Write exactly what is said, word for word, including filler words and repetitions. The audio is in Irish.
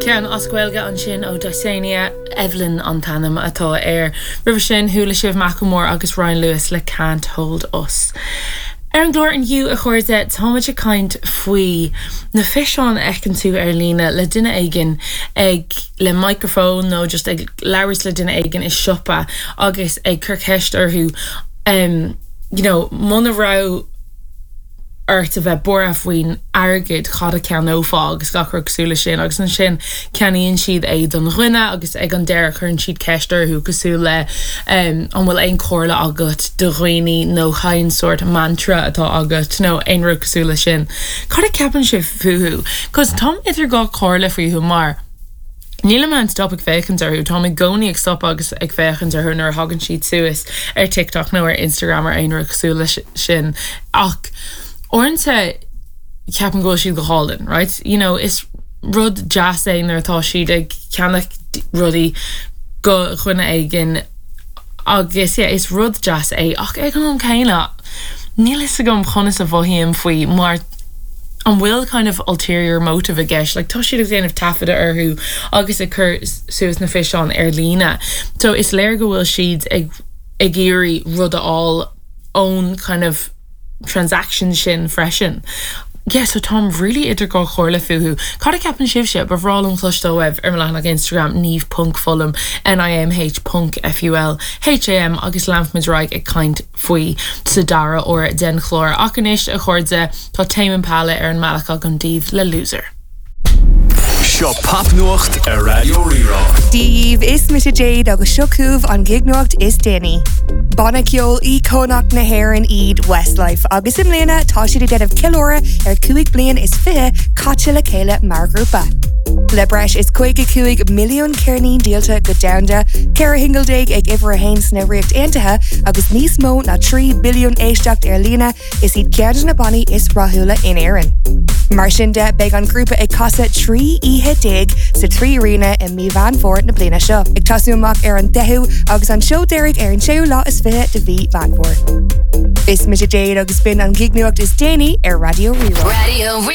Ceann as Gaeilge ansin ó Dysania Evelyn an t-ainm atá air. Roimhe sin chuala sibh Macklemore agus Ryan Lewis le Can't Hold Us. Ar an gclár inniu a chairde táimid ag caint faoi na físeáin a fheiceann tú ar líne le duine éigin ag le microphone nó just ag labhairt le duine éigin i siopa agus ag cur ceist orthu um, you know, muna raibh ort a bheith buartha faoin airgead cad a cheannófá agus gach rud cosúil leis sin agus ansin ceannaíonn siad é don dhuine agus ag an deireadh cuireann siad ceist orthu cosúil le um, an bhfuil aon chomhairle agat do dhaoine nó cén sórt mantra atá agat nó aon rud cosúil leis sin. Cad a cheapann sibh fúthu, cos táim idir dhá chomhairle fúthu mar. Níl mé in stop ag féachaint orthu Tá i gcónaí ag stop agus ag féachaint orthu nuair a thagann siad suas ar TikTok nó ar Instagram ar aon rud cosúil leis sin ach uaireanta ceapaim go bhfuil siad go hálainn, right? You know, is rud deas é nuair atá siad ag ceannach rudaí do dhuine éigin agus yeah, is rud deas é ach ag an am céanna níl a fhios agam conas a mhothaím faoi mar an bhfuil kind of ulterior motive i gceist, like, tá siad ag déanamh taifeadadh orthu agus ag cur suas na físeáin ar líne. So is léir go bhfuil siad ag ag iarraidh rud a fháil ón kind of transaction sin freisin. Yeah, so táim really idir dhá chomhairle fúthu. Cad a cheapann sibhse ba bhreá liom cloisteáil uaibh ar mo leathanach Instagram Niamh ponc Fulham NIAMH ponc FUL HAM agus leanfaimid ar aghaidh ag caint faoi sa dara huair den chlár. Ach anois a chairde tá Tame Impala ar an mbealach agam daoibh le loser. Seo popnuacht ar Raidió Rí-Rá. Dia daoibh is mise Jade agus seo chugaibh an gignuacht is déanaí. Banna ceoil íocónach na hÉireann iad Westlife agus i mbliana tá siad ag déanamh ceiliúradh ar cúig bliain is fiche caite le chéile mar ghrúpa. Le breis is caoga cúig milliún ceirnín díolta go domhanda, ceithre shingil déag ag uimhir a haon sna Ríocht Aontaithe agus níos mó ná trí billiún éisteacht ar líne is iad ceann de na bannaí is rathúla in Éirinn. Mar sin de beidh an grúpa ag casadh trí oíche déag sa trí Arena i mí Mheán Fómhair na bliana seo. Ag tosú amach ar an deichiú agus an seó deiridh ar an séú lá is fiche de mhí Mheán Fómhair. Is mise Jade agus b'in an gignuacht is déanaí ar Raidió Rí-Rá. Radio Rí